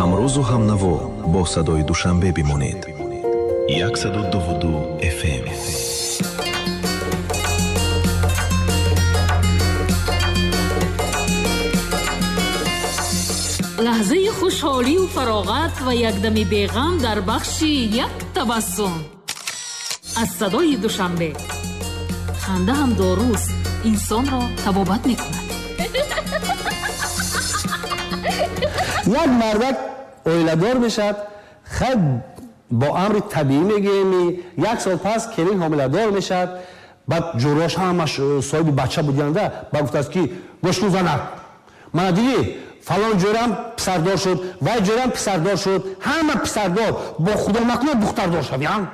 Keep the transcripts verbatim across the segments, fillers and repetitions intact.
Ҳамрӯзу ҳамнаво бо садои Душанбе бимонед. Яксаду дуву ду F M. Лаҳзаи хушҳолию фароғат ва якдами беғам дар бахши як табассум аз садои Душанбе. Ханда ҳам доруст, инсонро табобат мекунад. Як мардак оиладор мешавад, хай бо амри табиӣ мегӯем, як сол пас келин ҳомиладор мешавад. Баъд ҷӯрош ҳамаш соҳиби бача будианда, ба гуфтааст ки гӯш кун занак, мана дидӣ фалон ҷӯрам писардор шуд, вай ҷӯрам писардор шуд, ҳама писардор, бо худо накунад духтардор шавям.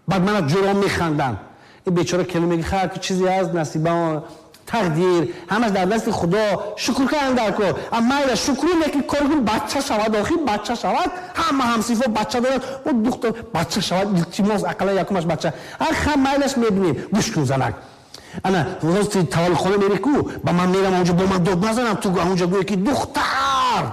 Баъд мана ҷӯром механданд. Ин бечора келин мегӯяд хай ки чизе аст, насиба, тақдир, ҳамаш дар дасти худо, шукр кардам дар кор. Аммо майла шукру лекин кор кун, бача шавад, охир бача шавад, ҳама ҳамсифо бача дорад, о духтар бача шавад, илтимос ақаллан якумаш бача. Ҳар майлаш мебинем. Гӯш кун занак, ана рости таваллудхона мери ку, ба ман мерам онҷо, бо ман дод назанам, ту онҷо гӯе ки духтар,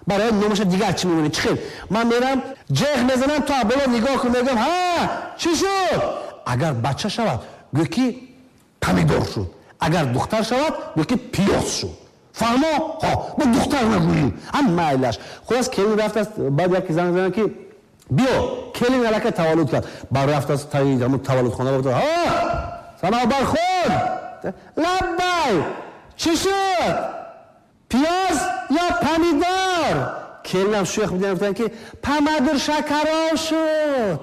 барои номаша дигар чӣ мемонӣ? Чӣ хел? Ман мерам ҷеғ мезанам, ту боло нигоҳ кун, мегӯям ҳа чӣ шуд? Агар бача шавад гӯе ки помидор шуд, агар духтар шавад гӯе ки пиёз шуд. Фаҳмо? Ҳо, бо духтар нагӯӣ. Ҳам майлаш. Хулас келин рафтааст, баъд яке занг занад ки биё, келин аллакай таваллуд кард. Баъд рафтааст таи ҳамун таваллудхона, гуфт ҳа санобар худ, лаббай, чӣ шуд? Пиёз ё помидор? Келинам шӯх бидиҳам, гуфтанд ки помадур шакаров шуд.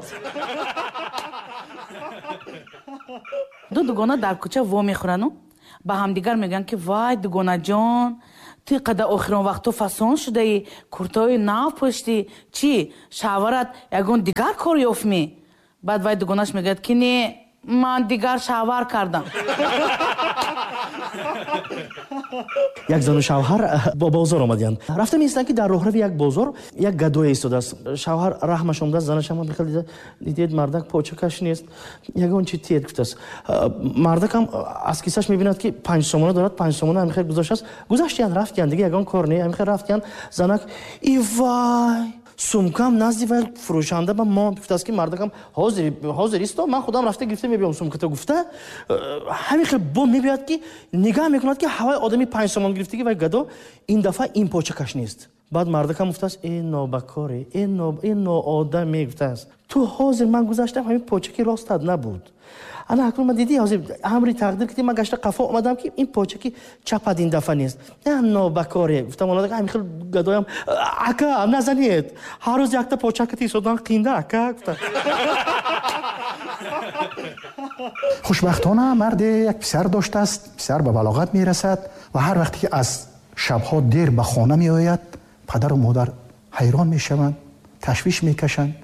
Ду дугона дар кӯча во мехӯрану ба ҳамдигар мегӯянд ки вай дугонаҷон, ту қадар охирон вақтҳо фасон шудаӣ, куртаҳои нав пӯштӣ, чӣ шавҳарат ягон дигар кор ёфт мӣ? Баъд вай дугонаш мегӯяд ки не, ман дигар шавҳар кардам. Як зану шавҳар бо бозор омадиянд. Рафта меистанд ки дар роҳрави як бозор як гадое истодааст. Шавҳар раҳмаш омадааст, занаш ҳам мехел дида, дидед мардак почакаш нест, ягон чи тиед гуфтааст. Мардакам аз кисаш мебинад ки панҷ сомона дорад, панҷ сомона ҳамихел гузоштааст. Гузаштиянд, рафтиянд, дига ягон кор не, ҳамихел рафтиянд. Занак и вай, сумкам назди вай фурӯшанда ба мо гуфтааст ки мардакам ҳозир ҳозир исто, ман худам рафта гирифта мебиём сумката гуфта. Ҳамин хел бо мебиёд ки нигаҳ мекунад ки ҳавай одами панҷ сомон гирифтаги вай гадо ин дафъа ин почакаш нест. Баъд мардакам гуфтааст э нобакоре, э ноодаме, гуфтааст ту ҳозир ман гузаштам ҳамин почаки ростат набуд. Ана акнун ман дидӣ ҳозир амри тақдир ки ман гашта қафо омадам ки ин почаки чапад ин дафъа нест. На нобакоре, гуфтам онада ҳамин хел гадоям ака назанед, ҳар рӯз якта почакати истодан қинда ака гуфта. Хушбахтона марде як писар доштааст. Писар ба балоғат мерасад ва ҳар вақте ки аз шабҳо дер ба хона меояд, падару модар ҳайрон мешаванд, ташвиш мекашанд.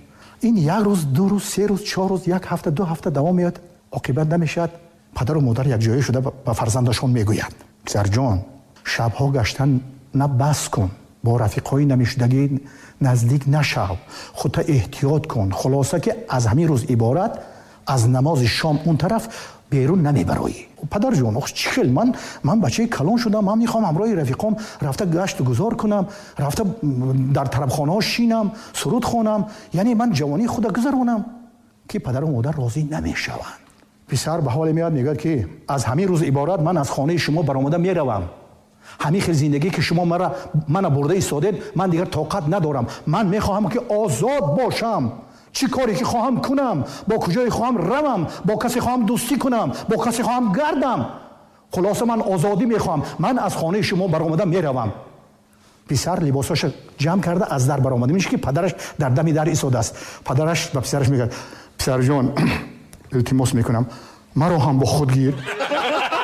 Ин як рӯз, ду рӯз, се рӯз, чор рӯз, як ҳафта, ду ҳафта давом меояд, оқибат намешавад. Падару модар якҷоя шуда ба фарзандашон мегӯянд: писарҷон, шабҳо гаштан на бас кун, бо рафиқҳои намешудагӣ наздик нашав, худта эҳтиёт кун. Хулоса ки аз ҳамин рӯз иборат аз намози шом он тараф берун намебароӣ. Падарҷон, ох чӣ хел, ман ман бачаи калон шудам, ман мехоҳам ҳамроҳи рафиқом рафта гашту гузор кунам, рафта дар тарабхонаҳо шинам, суруд хонам, яъне ман ҷавонии худа гузаронам. Ки падару модар розӣ намешаванд. Писар ба ҳоле меояд, мегӯяд ки аз ҳамин рӯз иборат ман аз хонаи шумо баромада меравам. Ҳамин хел зиндагӣ ки шумо мара мана бурда истодед, ман дигар тоқат надорам. Ман мехоҳам ки озод бошам. Чӣ коре ки хоҳам кунам, бо куҷое хоҳам равам, бо касе хоҳам дӯстӣ кунам, бо касе хоҳам гардам. Хулоса ман озодӣ мехоҳам. Ман аз хонаи шумо баромада меравам. Писар либосҳояшро ҷамъ карда аз дар баромада. Мебинад ки падараш дар дами дар истодааст. Падараш ба писараш мегӯяд: писарҷон, илтимос мекунам, маро ҳам бо худ гир.